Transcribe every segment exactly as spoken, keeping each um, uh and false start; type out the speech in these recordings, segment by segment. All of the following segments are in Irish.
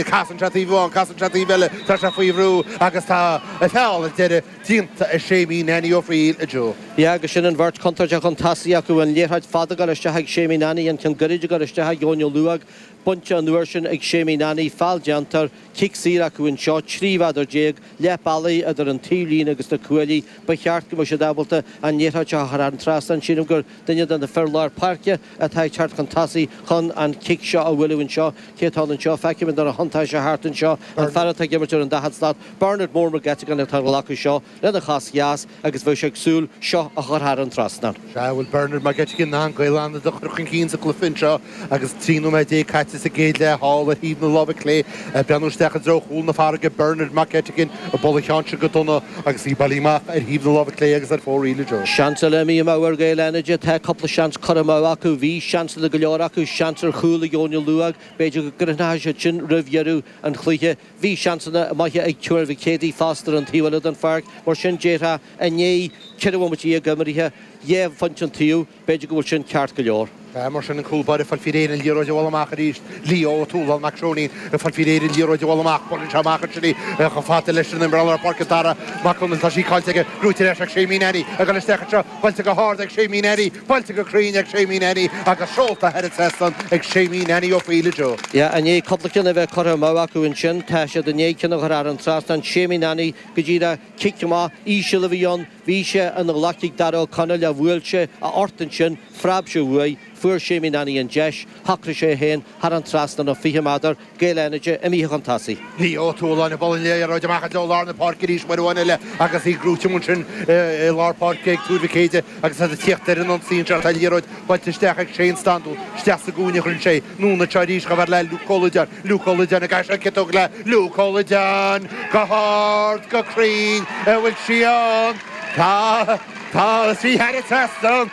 Casann sé taobh amháin, casann sé taobh eile, tá sé faoi bhrú agus tá feall ar deireadh déanta ag Séimí Nanny Ó Frighil, a Joe. Yeah, agus sin an bheirt chontúirteach chun tosaigh acu, an liathróid fada ag dul isteach ag Séimí Nanny, an ceann gairid ag dul isteach ag Eoin Ó Luaigh, bainte an uair sin ag Séimí Nanny, feall déanta, cic saor acu anseo, trí mhéadar déag, leath bealaigh idir an taobhlíne agus na cuaillí. Ba cheart go mbeadh siad ábalta an liathróid seo a chur thar an trasnán. Sílim gur duine de na fir lár páirce atá ag teacht chun tosaigh chun an cic seo a bhualadh anseo. Cé atá ann anseo? Feicimid nuair a thiontaigh sé thart anseo, an fear atá ag imirt ar an daichead slat, Bernard Mór Mac Eiteagáin atá ag glacadh seo lena chos dheas agus bheadh sé ag súil seo a chur thar an trasnán. Sea, bhfuil Bernard Mac Eiteagáin in ann Gaeil Fhánada a chur chun cinn sa chluiche anseo agus trí nóiméad déag caite sa gcéad leath thall ar thaobh na láimhe clé, ag breathnú isteach i dtreo chúl na farraige, Bernard Mac Eiteagáin ag bualadh an cheann seo go dona agus í bailithe amach ar thaobh na láimhe clé agus ar fóraoil, a Joe. Seans eile imithe amú ar Ghaeil Fhánaide. Tá cúpla seans curtha amú acu. Bhí seansanna go leor acu, seans ar chúl ag Eoin Ó Luaigh. B'fhéidir go gcruithneoidh siad sin roimh dheireadh an chluiche. Bhí seansanna maithe ag Tuar Mhic Éadaigh fosta ar an taobh eile den pháirc. Mar sin, déarfá, i ndiaidh ceithre bhomaite déag imeartha, dhá phointe an taobh, b'fhéidir go bhfuil sin ceart go leor. Sea, mar sin, an cúl báire ag fáil faoi réir an liathróid a bhualadh amach arís. Leo Ó Tuathaláin Mac Seoinín ag fáil faoi réir an liathróid a bhualadh amach. Buaileann sé amach ansin í chomh fada leis an imreoir lár páirce Dara Mac Conaill. Tá sí caillte aige. Gnóite ar ais ag Séimí Nanny. Ag dul isteach anseo. Buailte go hard ag Séimí Nanny. Buailte go cruinn ag Séimí Nanny agus seolta thar an trasnán ag Séimí Nanny Ó Foighil, a Joe. Yeah, i ndiaidh cúpla ceann a bheith curtha amú acu ansin, tá siad i ndiaidh ceann a chur thar an trasnán. Séimí Nanny go díreach cic amach íseal a bhí ann. Bhí sé ina ghlac ag Dara Ó Conaill ach bhuail sé a phort ansin, phreab sé uaidh, fuair Séimí Nanny an deis, shocraigh sé é féin thar an trasnán ó fiche méadar, Gaeil Fhánaide imithe chun tosaigh. Leo Ó Tuathaláin ag bualadh an liathróid amach i dtreo lár na páirce arís uair amháin eile agus í gnóite ansin i lár páirce ag Tuar Mhic Éide agus iad ag tíocht ar an ionsaí anseo. Tá an liathróid buailte isteach ag Shane Standún, isteach sa gcúinne a chuireann sé í. Anonn anseo arís chomh fada le Luke Ó Loideáin. Luke Ó Loideáin ag caitheamh an chiotóg le Luke Ó Loideáin go hard, go cruinn, an bhfuil sí ann? Tá, tá sí thar an trasnán.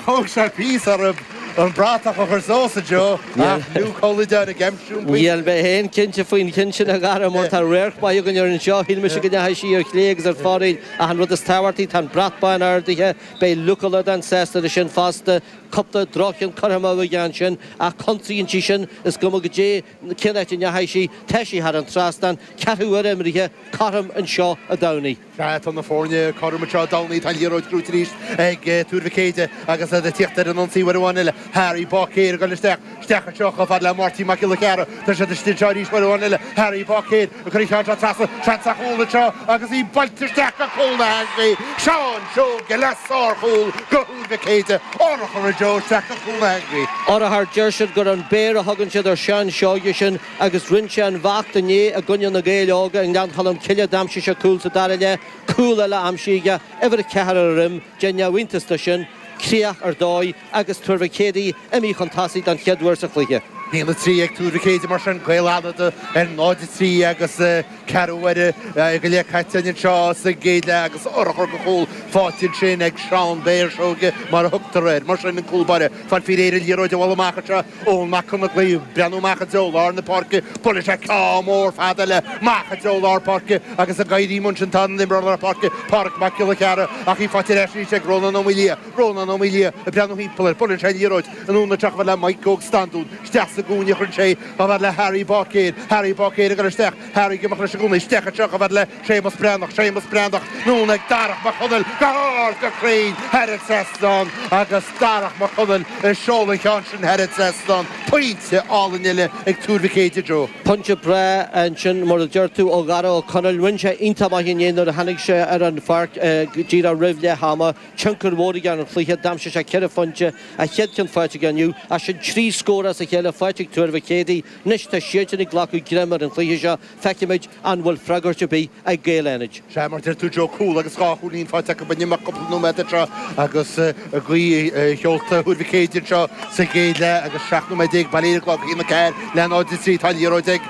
Thóg sé píosa orthu an bratach a chur suas, a Joe, ach Luke Ó Loideáin ag aimsiú an pointe. Níl mé féin cinnte faoin cheann sin, a Dhara, mar tá radharc maith againn air anseo. Shíl mise go ndeachaigh sí ar chlé agus ar fóraoil ach an rud is tábhachtaí, tá an brat bán ardaithe. Beidh Luke Ó Loideáin sásta leis sin fosta. Cúpla droch-cheann curtha amú aige ansin ach consaíonn sí sin, is cuma goidé cén áit a ndeachaigh sí, tá sí thar an trasnán, ceathrú uaire imeartha, cothrom anseo i dTamhnaigh. Sea, tá na foirne cothrom anseo i dTamhnaigh, tá an liathróid gnóite arís ag Tuar Mhic Éide agus iad ag tíocht ar an ionsaí uair amháin eile. Harry Báicéir ag dul isteach, isteach anseo chomh fada le Máirtín Mac Giolla Chearra. Tá siad istigh anseo arís uair amháin eile. Harry Báicéir ag cur an cheann seo trasna, seans ar chúl anseo agus í buailte isteach go cúl na heangaí. Seán Seoige le sárchúl do Thuar Mhic Éide. Urchar, a Joe, isteach go cúl na heangaí. Urchar, deir siad gur an Béar a thugann siad ar Sheán Seoige sin agus rinne sé an bheacht inné i gcoinne na Gaeil Óga i nGleann Cholm Cille. D'aimsigh sé cúl sa dara leath, cúl eile aimsithe aige, uimhir a ceathair ar a dhroim, déan neamhiontas de sin, críoch ar dóigh agus Tuar Mhic Éadaigh imithe chun tosaigh don chéad uair sa chluiche. A haon a trí ag Tuar Mhic Éide mar sin, Gaeil Fhánada ar náid a trí agus ceathrú uaire go leith caite anseo sa gcéad leath agus urchar de chúl faighte ansin ag Seán Béar Seoige mar a thugtar air. Mar sin an cúl báire fáil faoi réir an liathróid a bhualadh amach anseo Eoin Mac Conaglaigh ag breathnú amach i dtreo lár na páirce. Buaileann sé ceann mór fada eile amach i dtreo lár páirce agus ag éirí ansin tá an imreoir lár páirce Pádraic Mac Giolla Chearra ach í faighte ar ais arís ag Rónán Ó Maoildhia. Rónán Ó Maoildhia ag breathnú thimpeall air. Buaileann sé an liathróid anonn anseo chomh fada le Mike Óg Standún. Isteach sa gcúinne a chuireann sé í chomh fada le Harry Báicéir. Harry Báicéir ag dul isteach. Harry ag imeacht leis i gcónaí. Isteach anseo chomh fada le Séamus Breathnach. Séamus Breathnach anonn ag Darach Mac Conaill go hard go cruinn thar an trasnán agus Darach Mac Conaill ag seoladh an cheann sin thar an trasnán. Pointe álainn eile ag Tuar Mhic Éide, Joe. Pointe breá ansin, mar a deir tú, ó Dharach Ó Conaill. Rinne sé iontach maith inné nuair a tháinig sé ar an pháirc díreach roimh leath ama. Tionchar mhór aige ar an chluiche. D'aimsigh sé ceithre phointe, a chéad cheann faighte aige inniu. Ach sin trí scór as a chéile faighte ag Tuar Mhic Éadaigh. Anois tá siadsan ag glacadh greim ar an chluiche seo. Feicfimid an bhfuil freagairt ar bith ag Gaeil Fhánaid. Sea, mar a deir tú Joe, cúl agus dhá chúilín faighte acu in imeacht cúpla nóiméad anseo agus gaoth sheolta Thuar Mhic Éide anseo sa gcéad leath agus seacht nóiméad déag bailithe ar an gclog, a haon a ceathair le náid a trí. Tá an liathróid ag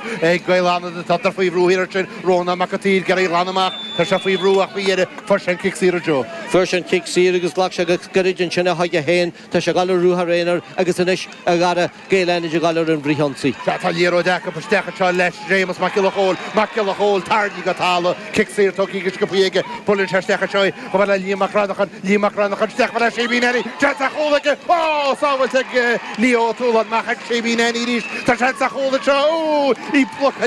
Gaeil Fhánada, tádar faoi bhrú thiar ansin. Rónán Mac an tSaoir ag iarraidh í a ghlanadh amach. Tá sé faoi bhrú ach faoi dheireadh fuair sé an cic saor, a Joe. Fuair sé an cic saor agus ghlac sé go gairid ansin chuige féin. Tá sé ag dul ar ruathar aonair agus anois, a Dhara, Gaeil Fhánaid ag dul ghabháil ar an bhfrithionsaí. Tá liathróid acu isteach anseo leis Séamus Mac Giolla Chóill, Mac Giolla Chóill tarraingthe go talamh, cic saor tugtha go sciobtha aige, buaileann sé isteach anseo chomh fada le Liam Mac Cranachan, Liam Mac Cranachan isteach chomh fada le Séimí Nanny, seans ar chúl aige, ó, sábháilte ag Leo Ó Tualáin, amach ag Séimí Nanny arís, tá seans ar chúl anseo, ó, í blocáilte.